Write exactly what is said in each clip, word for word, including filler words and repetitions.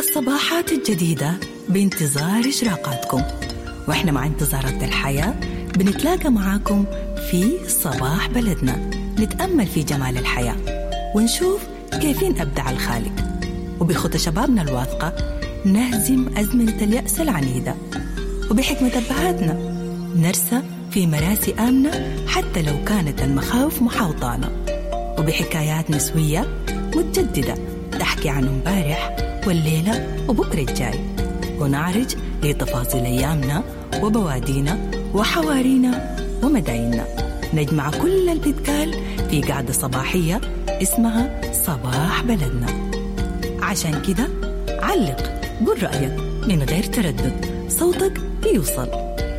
الصباحات الجديدة بانتظار إشراقاتكم، وإحنا مع انتظارات الحياة بنتلاقى معاكم في صباح بلدنا، نتأمل في جمال الحياة ونشوف كيفين أبدع الخالق، وبخطى شبابنا الواثقة نهزم أزمنة اليأس العنيدة، وبحكمة أبهاتنا نرسى في مراسي آمنة حتى لو كانت المخاوف محاوطانا، وبحكايات نسوية متجددة تحكي عن امبارح والليلة وبكرة الجاي، ونعرج لتفاصيل أيامنا وبوادينا وحوارينا ومدايننا. نجمع كل اللي بيتقال في قعدة صباحية اسمها صباح بلدنا. عشان كده علق، قل رأيك من غير تردد، صوتك بيوصل،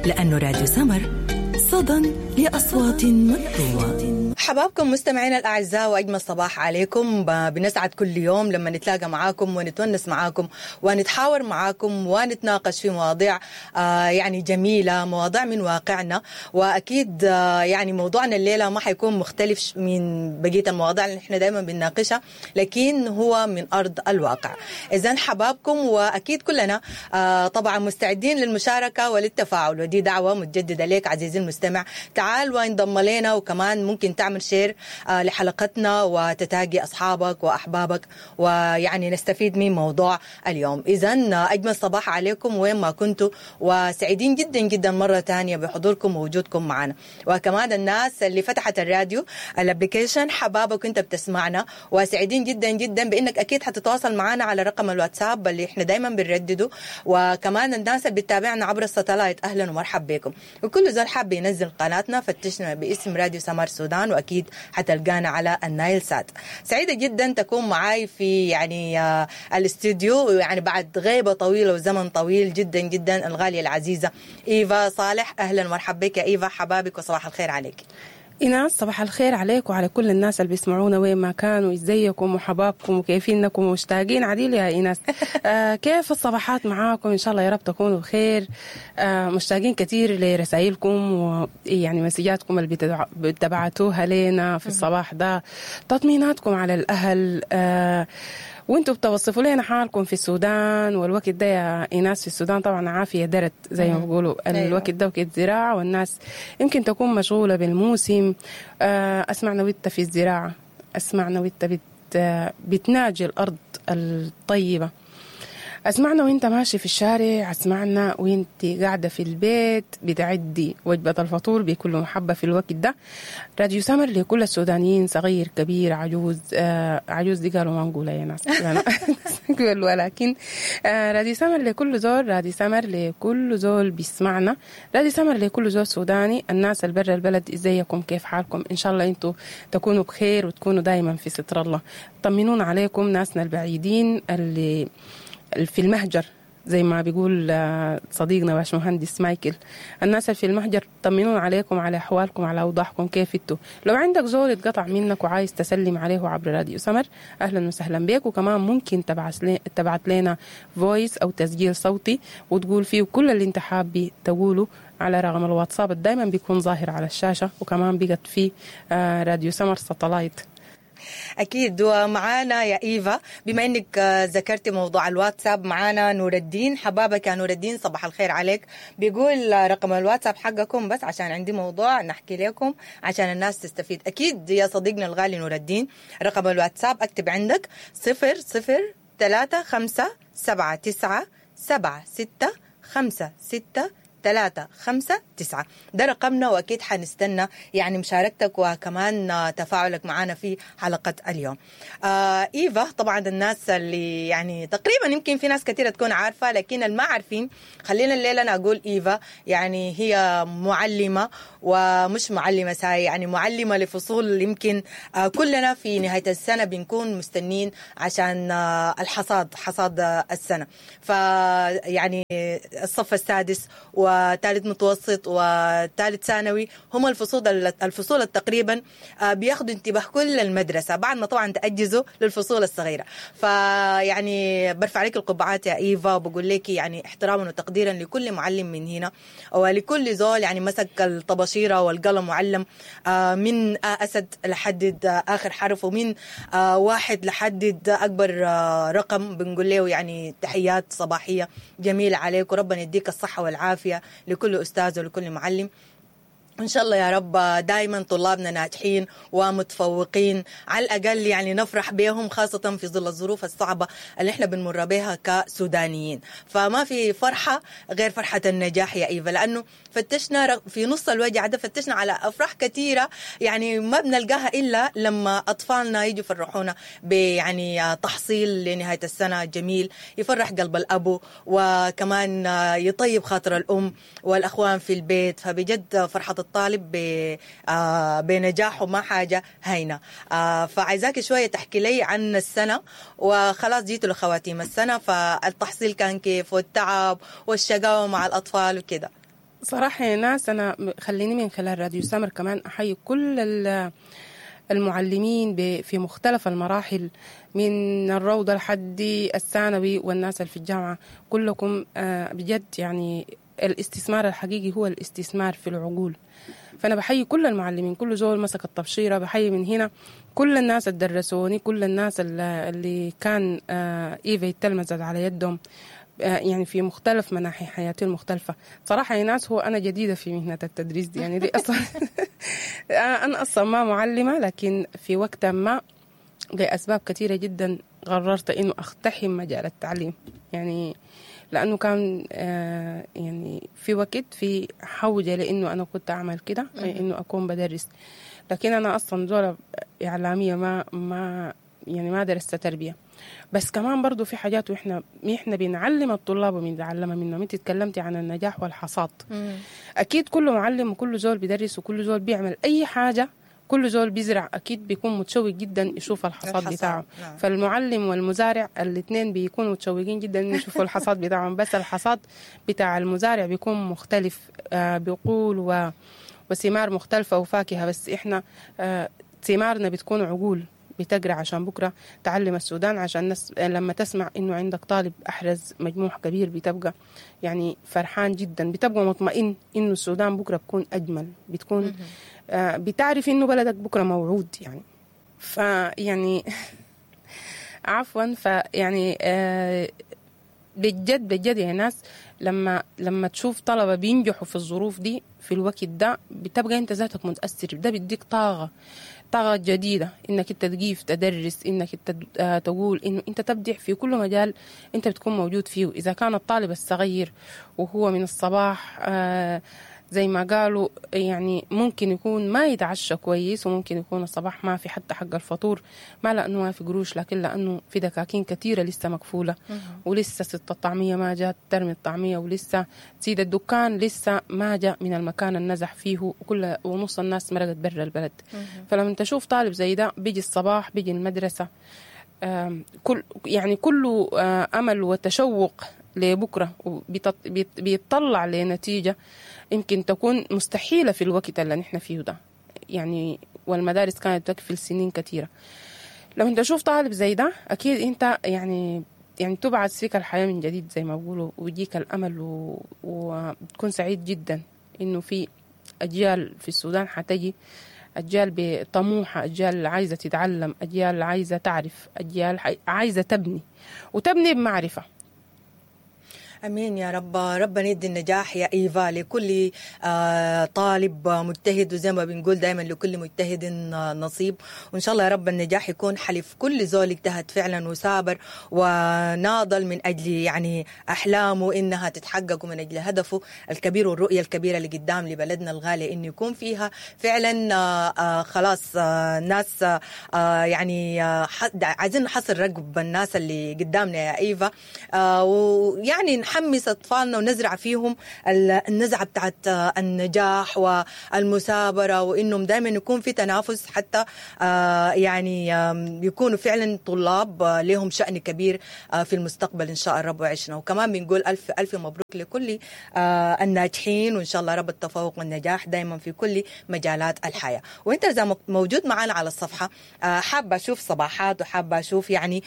لأنه راديو سمر صدى لأصوات مكتومة. حبابكم مستمعينا الأعزاء، وأجمل صباح عليكم. بنسعد كل يوم لما نتلاقى معاكم ونتونس معاكم ونتحاور معاكم ونتناقش في مواضيع آه يعني جميلة، مواضيع من واقعنا. وأكيد آه يعني موضوعنا الليلة ما حيكون مختلف من بقية المواضيع اللي احنا دايما بنناقشها، لكن هو من أرض الواقع. إذن حبابكم، وأكيد كلنا آه طبعا مستعدين للمشاركة وللتفاعل، ودي دعوة متجددة لك عزيزي المستمع، تعال وانضم لنا، وكمان ممكن تعمل share لحلقتنا وتتاقي أصحابك وأحبابك، ويعني نستفيد من موضوع اليوم. إذن أجمل صباح عليكم وين ما كنتوا، وسعيدين جدا جدا مرة تانية بحضوركم ووجودكم معنا. وكمان الناس اللي فتحت الراديو ال application، حبابك وانت بتسمعنا، وسعيدين جدا جدا بأنك أكيد حتتواصل معنا على رقم الواتساب اللي احنا دايما بنردده. وكمان الناس اللي بتتابعنا عبر ال satellite، أهلا ومرحبا بكم. وكل زول حاب ينزل قناتنا فتشنا باسم راديو سمر سودان، وأكيد حتلقانا على النايل سات. سعيدة جدا تكون معاي في يعني آه الاستوديو، يعني بعد غيبة طويلة وزمن طويل جدا جدا، الغالية العزيزة إيفا صالح. أهلا ومرحبا بك يا إيفا، حبابك وصباح الخير عليك. إيناس صباح الخير عليك وعلى كل الناس اللي بيسمعونا وين ما كانوا. ازيكم وحبابكم وكيفينكم ومشتاقين عديل يا إيناس. آه كيف الصباحات معاكم؟ إن شاء الله يا رب تكونوا بخير. آه مشتاقين كثير لرسائلكم ويعني مسجاتكم اللي بتبعتوها لنا في الصباح ده، تطميناتكم على الأهل، آه وانتوا بتوصفوا لنا حالكم في السودان. والوقت ده يا إيناس في السودان طبعا عافية درت زي ما بيقولوا، الوقت ده وقت زراعة، والناس يمكن تكون مشغولة بالموسم. أسمعنا وانت في الزراعة، أسمعنا وانت بت بتناجي الأرض الطيبة، أسمعنا وانت ماشي في الشارع، أسمعنا وانت قاعدة في البيت بتعدي وجبة الفطور بكل محبة في الوقت ده. راديو سمر لكل السودانيين، صغير كبير عجوز، آه عجوز دي قالوا ما نقولها يا ناس ولكن آه راديو سمر لكل زول، راديو سمر لكل زول بيسمعنا، راديو سمر لكل زول سوداني. الناس البر البلد ازيكم، كيف حالكم؟ إن شاء الله انتوا تكونوا بخير وتكونوا دايما في ستر الله. طمنونا عليكم ناسنا البعيدين اللي في المهجر زي ما بيقول صديقنا باش مهندس مايكل، الناس اللي في المهجر طمنون عليكم، على أحوالكم، على أوضاعكم، كيف انتوا. لو عندك زول اتقطع منك وعايز تسلم عليه عبر راديو سمر، أهلا وسهلا بك. وكمان ممكن تبعت لنا voice أو تسجيل صوتي وتقول فيه كل اللي انت حابي تقوله على رقم الواتساب دايما بيكون ظاهر على الشاشة، وكمان بقت فيه راديو سمر satellite. أكيد. ومعانا يا إيفا، بما أنك ذكرتي موضوع الواتساب، معانا نور الدين. حبابك يا نور الدين، صباح الخير عليك. بيقول رقم الواتساب حقكم بس عشان عندي موضوع نحكي لكم عشان الناس تستفيد. أكيد يا صديقنا الغالي نور الدين، رقم الواتساب أكتب عندك صفر صفر ثلاثة خمسة سبعة تسعة سبعة ستة خمسة ستة ثلاثة خمسة تسعة، ده رقمنا، وأكيد حنستنى يعني مشاركتك وكمان تفاعلك معنا في حلقة اليوم. آه إيفا، طبعا الناس اللي يعني تقريبا يمكن في ناس كثيرة تكون عارفة، لكن اللي ما عارفين خلينا الليلة أنا أقول إيفا يعني هي معلمة، ومش معلمة ساي، يعني معلمة لفصول يمكن آه كلنا في نهاية السنة بنكون مستنين عشان آه الحصاد، حصاد السنة، فيعني الصف السادس و وثالث متوسط وثالث ثانوي هم الفصول الفصول تقريبا بياخذوا انتباه كل المدرسة بعد ما طبعا تاجزوا للفصول الصغيرة. فيعني برفع لك القبعات يا ايفا، وبقول لك يعني احتراما وتقديرا لكل معلم من هنا ولكل زول يعني مسك الطباشيره والقلم وعلم من اسد لحد اخر حرف، ومن واحد لحد اكبر رقم. بنقول له يعني تحيات صباحية جميلة عليك، وربنا يديك الصحة والعافية لكل استاذ ولكل معلم. إن شاء الله يا رب دائما طلابنا ناجحين ومتفوقين، على الأقل يعني نفرح بهم، خاصة في ظل الظروف الصعبة اللي احنا بنمر بها كسودانيين. فما في فرحة غير فرحة النجاح يا إيفا، لأنه فتشنا في نص الوجع ده، فتشنا على أفراح كثيرة يعني ما بنلقاها إلا لما أطفالنا يجوا يفرحونا بيعني تحصيل لنهاية السنة جميل يفرح قلب الأبو، وكمان يطيب خاطر الأم والأخوان في البيت. فبجد فرحة الطالب بنجاحه ما حاجة هينة. فعايزاك شوية تحكي لي عن السنة، وخلاص جيتوا لخواتيم السنة، فالتحصيل كان كيف والتعب والشقاوة مع الأطفال وكده. صراحة يا ناس، أنا خليني من خلال راديو سمر كمان أحيي كل المعلمين في مختلف المراحل من الروضة لحد الثانوي والناس اللي في الجامعة، كلكم بجد يعني الاستثمار الحقيقي هو الاستثمار في العقول. فأنا بحيي كل المعلمين، كل زول مسك الطبشيرة، بحيي من هنا كل الناس اللي درسوني، كل الناس اللي كان إيفا يتلمذت على يدهم يعني في مختلف مناحي حياتي المختلفة. صراحة يا ناس، هو أنا جديدة في مهنة التدريس دي، يعني دي أصلا أنا أصلا ما معلمة، لكن في وقت ما لأسباب كثيرة جدا قررت إنه أقتحم مجال التعليم، يعني لأنه كان آه يعني في وقت في حوجة لأنه أنا كنت أعمل كده، إنه أكون بدرس. لكن أنا أصلا زولة إعلامية، ما ما يعني ما درست تربية. بس كمان برضو في حاجات وإحنا إحنا بنعلم الطلاب وبنتعلمها منهم. أنت تكلمتي عن النجاح والحصاد. مم. أكيد كل معلم وكل زول بدرس وكل زول بيعمل أي حاجة، كل زول بيزرع أكيد بيكون متشوق جدا يشوف الحصاد, الحصاد بتاعه. نعم. فالمعلم والمزارع الاثنين بيكونوا متشوقين جدا إنه يشوفوا الحصاد بتاعهم، بس الحصاد بتاع المزارع بيكون مختلف، آه بيقول و... وثمار مختلفة وفاكهة. بس إحنا آه ثمارنا بتكون عقول بتقرأ عشان بكرة تعلم السودان، عشان نس... لما تسمع إنه عندك طالب أحرز مجموع كبير بتبقى يعني فرحان جدا، بتبقى مطمئن إنه السودان بكرة بكون أجمل، بتكون آه بتعرف إنه بلدك بكرة موعود يعني. فيعني عفوا، فيعني آه بجد بجد يا ناس، لما لما تشوف طلبة بينجحوا في الظروف دي في الوقت ده، بتبقى انت ذاتك متأثر. ده بيديك طاقة طاقة جديدة انك انت تقيف تدرس، انك انت تقول انه انت تبدع في كل مجال انت بتكون موجود فيه. اذا كان الطالب الصغير وهو من الصباح آه زي ما قالوا يعني ممكن يكون ما يتعشى كويس، وممكن يكون الصباح ما في حتى حق الفطور، ما لأنه ما في قروش، لكن لأنه في دكاكين كثيرة لسه مقفولة، ولسه ست الطعمية ما جات ترمي الطعمية، ولسه سيد الدكان لسه ما جاء من المكان النزح فيه، وكل ونص الناس مرقت برا البلد. فلما تشوف طالب زي ده بيجي الصباح بيجي المدرسة كل يعني كله أمل وتشوق لبكرة، وبيطلع لنتيجة يمكن تكون مستحيلة في الوقت اللي نحن فيه ده يعني، والمدارس كانت تكفل سنين كثيرة. لو انت تشوف طالب زي ده أكيد انت يعني يعني تبعث فيك الحياة من جديد زي ما بيقولوا، ويجيك الأمل و... وتكون سعيد جدا إنه في أجيال في السودان حتجي، أجيال بطموحة، أجيال عايزة تتعلم، أجيال عايزة تعرف، أجيال عايزة تبني وتبني بمعرفة. أمين يا رب. ربنا يدي النجاح يا إيفا لكل طالب مجتهد، وزي ما بنقول دايما لكل مجتهد نصيب، وإن شاء الله يا رب النجاح يكون حليف كل زول اجتهد فعلا وسابر وناضل من أجل يعني أحلامه إنها تتحقق، ومن أجل هدفه الكبير والرؤية الكبيرة اللي قدام لبلدنا الغالية إنه يكون فيها فعلا خلاص ناس يعني عايزين نحصل رقب الناس اللي قدامنا يا إيفا، ويعني نحمس أطفالنا ونزرع فيهم النزعة بتاعت النجاح والمثابرة، وإنهم دائما يكون في تنافس حتى يعني يكونوا فعلا طلاب لهم شأن كبير في المستقبل إن شاء الرب وعشنا. وكمان بنقول ألف ألف مبروك لكل الناجحين، وإن شاء الله رب التفوق والنجاح دائما في كل مجالات الحياة. وإنت إذا موجود معنا على الصفحة حابة أشوف صباحات، وحابة أشوف يعني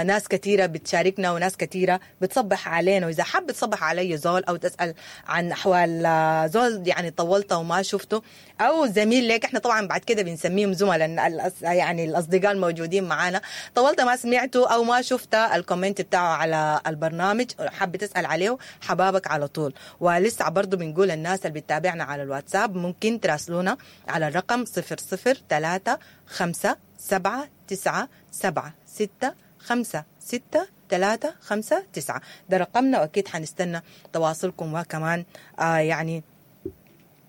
ناس كثيرة بتشاركنا وناس كثيرة بتصبح علينا. وإذا حابة تصبح علي زول أو تسأل عن أحوال زول يعني طولته وما شفته أو زميل لك، إحنا طبعا بعد كده بنسميهم زملاء يعني الأصدقاء الموجودين معانا، طولت ما سمعته أو ما شفت ال comment بتاعه على البرنامج حابة تسأل عليه، حبابك على طول. ولسه برضو بنقول الناس اللي بتتابعنا على الواتساب ممكن تراسلونا على الرقم صفر صفر ثلاثة خمسة سبعة تسعة سبعة ستة خمسة ستة ثلاثة خمسة تسعة، ده رقمنا، وأكيد حنستنى تواصلكم وكمان آه يعني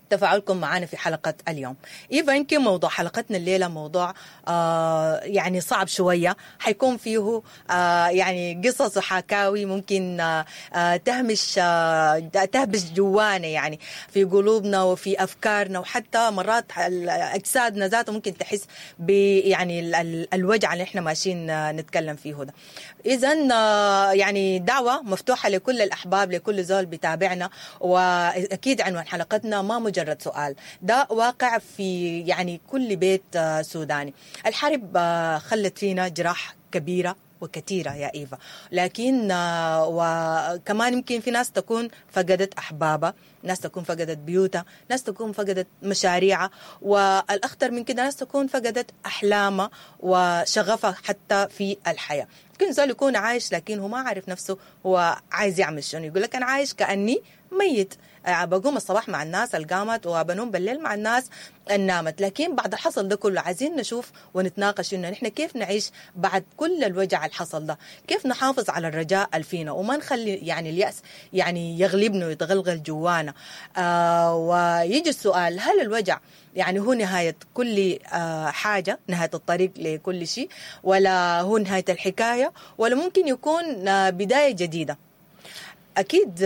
تفاعلكم معنا في حلقة اليوم. إيفا، يمكن موضوع حلقتنا الليلة موضوع آه يعني صعب شوية، حيكون فيه آه يعني قصص وحكاوي ممكن آه تهمش آه تهبش جوانا يعني في قلوبنا وفي أفكارنا، وحتى مرات أجسادنا ذاته ممكن تحس ب يعني الوجع اللي احنا ماشيين نتكلم فيه ده. إذن آه يعني دعوة مفتوحة لكل الأحباب، لكل زول بتابعنا، وأكيد عنوان حلقتنا ما مجرد سؤال، ده واقع في يعني كل بيت سوداني. الحرب خلت فينا جراح كبيرة وكثيرة يا إيفا، لكن وكمان يمكن في ناس تكون فقدت أحبابها، ناس تكون فقدت بيوتها، ناس تكون فقدت مشاريعها، والأخطر من كده ناس تكون فقدت أحلامها وشغفها حتى في الحياة. ممكن زول يكون عايش لكن هو ما عارف نفسه هو عايز يعمل شنو، يقول لك أنا عايش كأني ميت، بقوم الصباح مع الناس القامت وبنوم بالليل مع الناس النامت. لكن بعد الحصل ده كله عايزين نشوف ونتناقش إنه نحن كيف نعيش بعد كل الوجع الحصل ده، كيف نحافظ على الرجاء الفينا وما نخلي يعني اليأس يعني يغلبنا ويتغلغل جوانا. آه ويجي السؤال، هل الوجع يعني هو نهاية كل آه حاجة، نهاية الطريق لكل شيء، ولا هو نهاية الحكاية، ولا ممكن يكون آه بداية جديدة؟ أكيد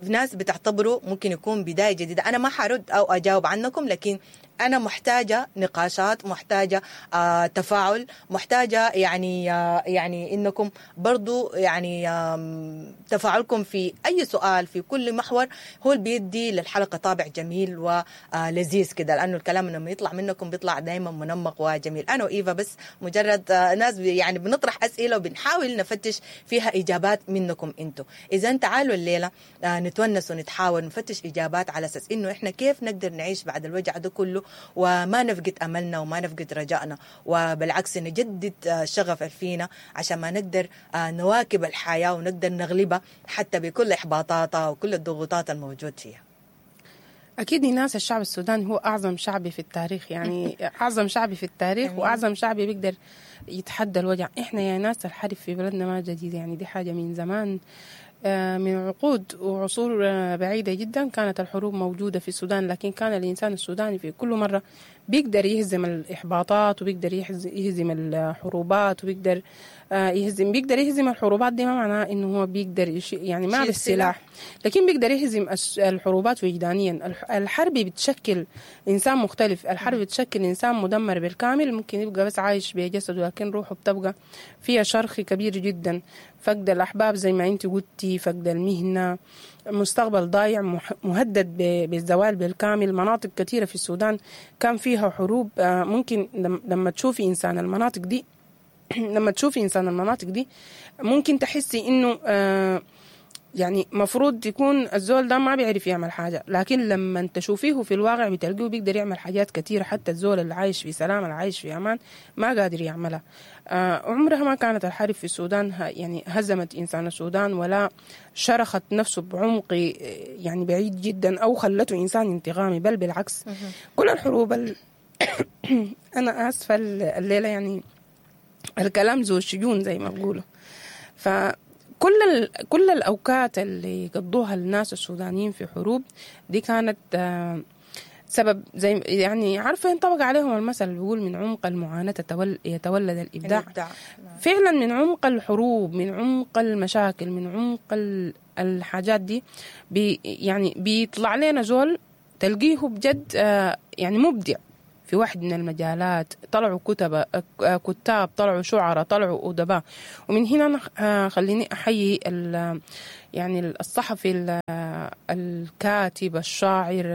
ناس بتعتبره ممكن يكون بداية جديدة. أنا ما حرد أو أجاوب عنكم، لكن أنا محتاجة نقاشات، محتاجة آه تفاعل، محتاجة يعني آه يعني إنكم برضو يعني آه تفاعلكم في أي سؤال في كل محور هو اللي بيدي للحلقة طابع جميل ولذيذ كده، لأنه الكلام لما يطلع منكم بيطلع دايما منمق وجميل. أنا وإيفا بس مجرد آه ناس يعني بنطرح أسئلة وبنحاول نفتش فيها إجابات منكم أنتوا. إذا تعالوا الليلة آه نتونس ونتحاول نفتش إجابات على أساس إنه إحنا كيف نقدر نعيش بعد الوجع ده كله وما نفقد أملنا وما نفقد رجائنا، وبالعكس نجدد شغف فينا عشان ما نقدر نواكب الحياة ونقدر نغلبها حتى بكل إحباطاتها وكل الضغوطات الموجود فيها. أكيد ناس الشعب السوداني هو أعظم شعب في التاريخ، يعني أعظم شعب في التاريخ وأعظم شعب بيقدر يتحدى الوجع. إحنا يا ناس الحرب في بلدنا ما جديد، يعني دي حاجة من زمان، من عقود وعصور بعيدة جدا كانت الحروب موجودة في السودان، لكن كان الإنسان السوداني في كل مرة بيقدر يهزم الإحباطات وبيقدر يهزم الحروبات وبيقدر يهزم بيقدر يهزم الحروبات. دي ما معناه إنه هو بيقدر يش... يعني ما بالسلاح، لكن بيقدر يهزم الحروبات وجدانيا. الحرب بتشكل إنسان مختلف، الحرب بتشكل إنسان مدمر بالكامل، ممكن يبقى بس عايش بجسده لكن روحه بتبقى فيها شرخ كبير جدا. فقد الأحباب زي ما أنت قلتي، فقد المهنة، مستقبل ضايع مهدد بالزوال بالكامل. مناطق كثيرة في السودان كان فيها حروب، ممكن لما تشوفي إنسان المناطق دي لما تشوفي إنسان المناطق دي ممكن تحسي إنه يعني مفروض يكون الزول ده ما بيعرف يعمل حاجة، لكن لما تشوفيه في الواقع بتلقيه بيقدر يعمل حاجات كثيرة، حتى الزول اللي عايش في سلام، اللي عايش في أمان، ما قادر يعملها. آه عمرها ما كانت الحرب في السودان يعني هزمت إنسان السودان ولا شرخت نفسه بعمق يعني بعيد جدا أو خلته إنسان انتقامي، بل بالعكس كل الحروب ال... أنا آسفة الليلة يعني الكلام ذو الشجون زي ما بقولوا. ف كل ال... كل الأوقات اللي قضوها الناس السودانيين في حروب دي كانت سبب زي يعني عارفه ينطبق عليهم المثل اللي بيقول من عمق المعاناة يتولد الابداع, الإبداع. فعلا من عمق الحروب، من عمق المشاكل، من عمق الحاجات دي بي يعني بيطلع لنا زول تلقيه بجد يعني مبدع في واحد من المجالات. طلعوا كتب كتاب، طلعوا شعراء، طلعوا أدباء. ومن هنا أنا خليني أحيي يعني الصحفي الكاتب الشاعر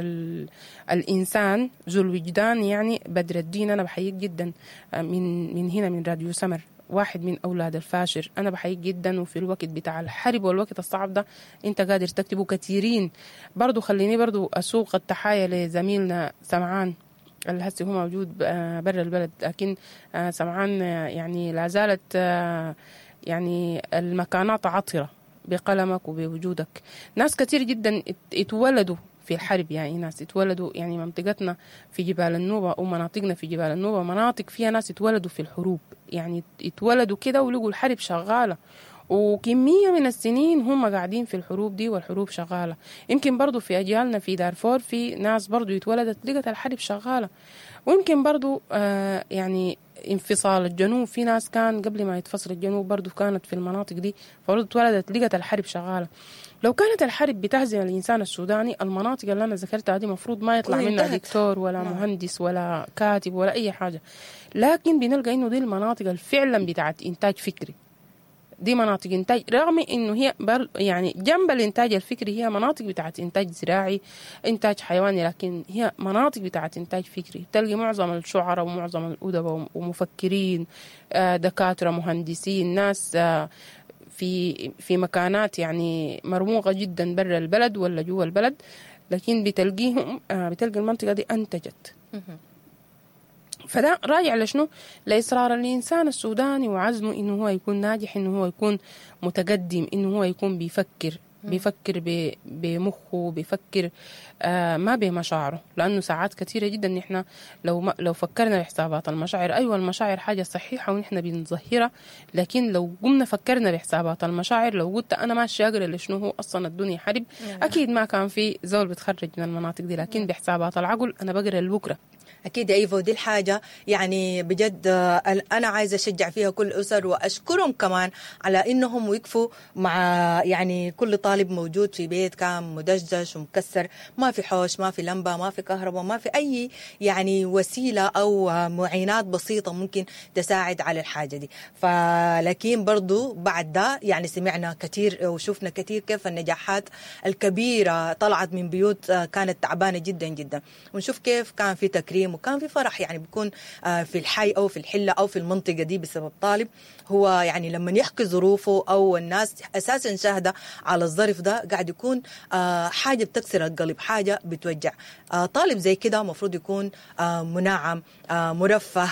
الإنسان ذو الوجدان يعني بدر الدين. أنا بحييك جدا من من هنا من راديو سمر، واحد من أولاد الفاشر. أنا بحييك جدا، وفي الوقت بتاع الحرب والوقت الصعب ده أنت قادر تكتبه كثيرين. برضو خليني برضو أسوق التحايا لزميلنا سمعان اللي هسه هو موجود برا البلد، لكن سمعان يعني لا زالت يعني المكانات عطرة بقلمك وبوجودك. ناس كثير جدا اتولدوا في الحرب، يعني ناس اتولدوا يعني منطقتنا في جبال النوبة ومناطقنا في جبال النوبة مناطق فيها ناس اتولدوا في الحروب، يعني اتولدوا كده ولقوا الحرب شغالة، وكمية من السنين هم قاعدين في الحروب دي والحروب شغالة. يمكن برضو في أجيالنا في دارفور في ناس برضو اتولدت لقت الحرب شغالة. ويمكن برضو آه يعني انفصال الجنوب، في ناس كان قبل ما يتفصل الجنوب برضو كانت في المناطق دي، فبرضو اتولدت لقت الحرب شغالة. لو كانت الحرب بتهزم الإنسان السوداني، المناطق اللي أنا ذكرتها دي مفروض ما يطلع منها دكتور ولا مهندس ولا كاتب ولا أي حاجة، لكن بنلقى إنه دي المناطق اللي فعلا بتاعت إنتاج فكري، دي مناطق إنتاج، رغم إنه هي بر يعني جنب الإنتاج الفكري هي مناطق بتاعت إنتاج زراعي، إنتاج حيواني، لكن هي مناطق بتاعت إنتاج فكري. تلقي معظم الشعراء ومعظم الأدباء ومفكرين، دكاترة، مهندسين، ناس في في مكانات يعني مرموقة جدا برا البلد ولا جوا البلد، لكن بتلقيهم بتلقي المنطقة دي أنتجت. فده راجع لشنو؟ لإصرار الإنسان السوداني وعزمه إنه هو يكون ناجح، إنه هو يكون متقدم، إنه هو يكون بيفكر، بيفكر بمخه، بيفكر آه ما بمشاعره. لأنه ساعات كثيرة جدا نحن لو ما لو فكرنا بحسابات المشاعر، أيوة المشاعر حاجة صحيحة ونحن بنظهرها، لكن لو قمنا فكرنا بحسابات المشاعر، لو قلت أنا ماشي أقرأ لشنو هو أصلا الدنيا حرب، أكيد ما كان في زول بتخرج من المناطق دي، لكن بحسابات العقل أنا بقرأ لبكرة. أكيد يا إيفا، ودي الحاجة يعني بجد أنا عايزة أشجع فيها كل أسر وأشكرهم كمان على إنهم وقفوا مع يعني كل طالب موجود في بيت كان مدشدش ومكسر، ما في حوش، ما في لمبة، ما في كهرباء، ما في أي يعني وسيلة أو معينات بسيطة ممكن تساعد على الحاجة دي. فلكن برضو بعد ده يعني سمعنا كثير وشفنا كثير كيف النجاحات الكبيرة طلعت من بيوت كانت تعبانة جدا جدا، ونشوف كيف كان في تكريم وكان في فرح يعني بيكون في الحي أو في الحلة أو في المنطقة دي بسبب طالب هو يعني لما يحكي ظروفه أو الناس أساسا شاهدة على الظرف ده قاعد يكون حاجة بتكسر القلب، حاجة بتوجع. طالب زي كده مفروض يكون منعم، مرفه،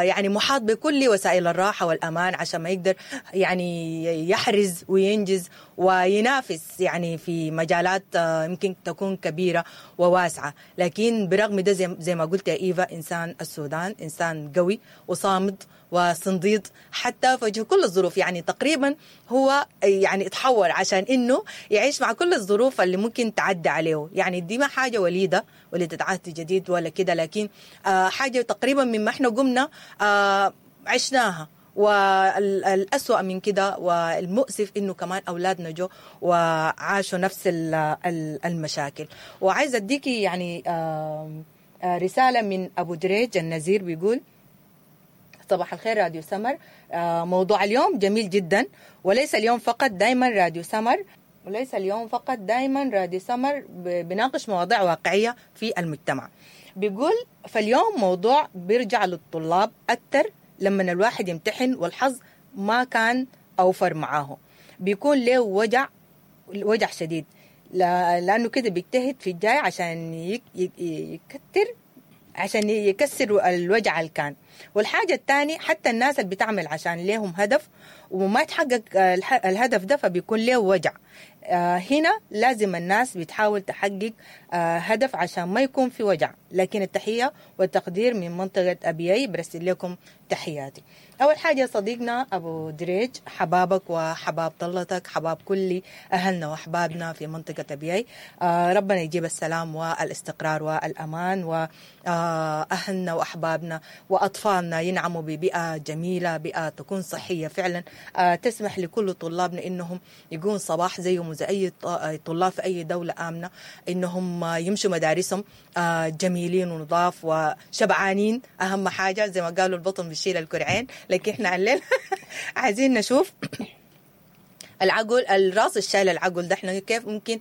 يعني محاط بكل وسائل الراحة والأمان عشان ما يقدر يعني يحرز وينجز وينافس يعني في مجالات يمكن تكون كبيرة وواسعة. لكن برغم ده زي, زي ما قلت يا إيفا، إنسان السودان إنسان قوي وصامد وصنديد حتى في وجه كل الظروف، يعني تقريبا هو يعني اتحول عشان إنه يعيش مع كل الظروف اللي ممكن تعدي عليه. يعني دي ما حاجة وليدة وليدة عهد جديد ولا كده، لكن آه حاجة تقريبا مما احنا قمنا آه عشناها. والأسوأ من كده والمؤسف إنه كمان أولادنا جو وعاشوا نفس المشاكل. وعايزة أديكي يعني رسالة من أبو دريج النزير، بيقول صباح الخير راديو سمر، موضوع اليوم جميل جدا، وليس اليوم فقط، دايما راديو سمر وليس اليوم فقط دايما راديو سمر بناقش مواضيع واقعية في المجتمع. بيقول فاليوم موضوع بيرجع للطلاب أكثر، لما الواحد يمتحن والحظ ما كان أوفر معاه بيكون له وجع وجع شديد، لأنه كده بيجتهد في الجاي عشان يكتر عشان يكسر الوجع اللي كان. والحاجة الثانية حتى الناس اللي بتعمل عشان لهم هدف وما تحقق الهدف ده فبيكون له وجع. هنا لازم الناس بتحاول تحقق هدف عشان ما يكون في وجع. لكن التحية والتقدير من منطقة أبيي، برسل لكم تحياتي. اول حاجة صديقنا ابو دريج، حبابك وحباب طلتك، حباب كل اهلنا واحبابنا في منطقة ابيي. آه ربنا يجيب السلام والاستقرار والامان، واهلنا واحبابنا واطفالنا ينعموا ببيئه جميلة، بيئة تكون صحية فعلا، آه تسمح لكل طلابنا انهم يكون صباح زيهم وزي اي طلاب في اي دولة امنه، انهم يمشوا مدارسهم آه جميلين ونضاف وشبعانين. اهم حاجة زي ما قالوا البطن بيشيل الكرعين، لكن احنا الليل عايزين نشوف العقل، الراس الشايل العقل ده احنا كيف ممكن